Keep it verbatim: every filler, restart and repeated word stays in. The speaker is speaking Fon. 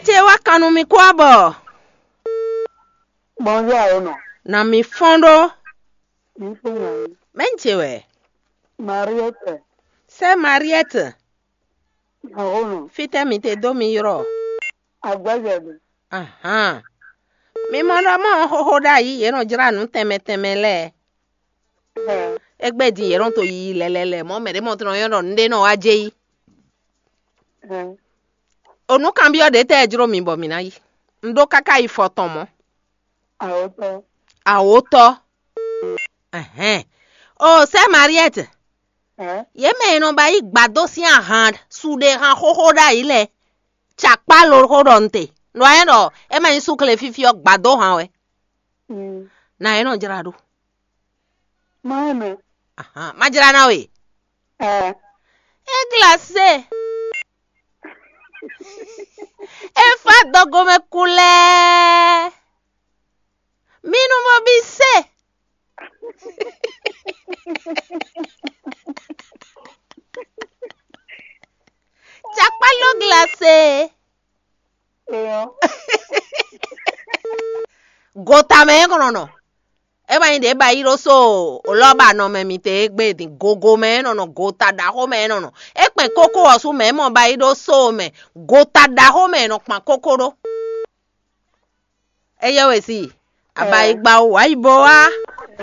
Te wá kan nú mi kú abɔ. Bonjour Awono. Na mi fɔn ɖó. Mi fún mi. Mɛnche wɛ. Mariette. Sɛ Mariette. Awono. Fitɛ mi te dó mi yrɔ. Agbɛjɛ bi. Ahan. Mi mɔ ɖɔ mɔ xóxó ɖ'ayǐ yě nɔ jlá nǔ tɛnmɛ tɛnmɛ lɛ́ɛ. Ɛ. Égbé din yě nɔ to yiyi lɛlɛlɛ mɔ̌ mɛ ɖě mɔ tɔn yɔ́ ɖɔ nǔɖé nɔ wá jɛ yí. Ɛ. O nǔ kanbyɔ́ ɖě tɛ́ jló mi bɔ mǐ ná yi? Un ɖó káká yi fɔ tɔn mɔ̌. Awotɔ. Awotɔ. Ɛhɛn. O sɛ Mariette. Ɛ. Yě mɛ e nɔ ba yí gbadó sín ahan suɖehan xóxó ɖ'ayǐ lɛ́ɛ. Cakpá ló xó ɖɔ un te. Nǔ wa nyɛ ɖɔ é ma nyí súkle fífí ɔ́ gbadó han wɛ. Mm. Na é nɔ jlá ɖó. Má ɛ mɛ. Ahan, má jlá ná we. Ɛ. É glacé. É fá dɔgomɛ kulɛ́. Minu mɔ bí se. Cakpá ló glacé. Eyɔ. Gota mɛ é kɔnɔ nɔ. É ma nyí ɖě ba yí ɖó so lɔ́ba nɔ mɛ mi te égbé din gogo mɛ é nɔ nɔ gota ɖaxó mɛ é nɔ nɔ. É kpɛn kókó ɔ́ sú mɛ é mɔ ba yí ɖó so mɛ gota ɖaxó mɛ é nɔ kpan kókó ɖó. É yɛ wɛ si. Abayigba wǎ yi bo wá.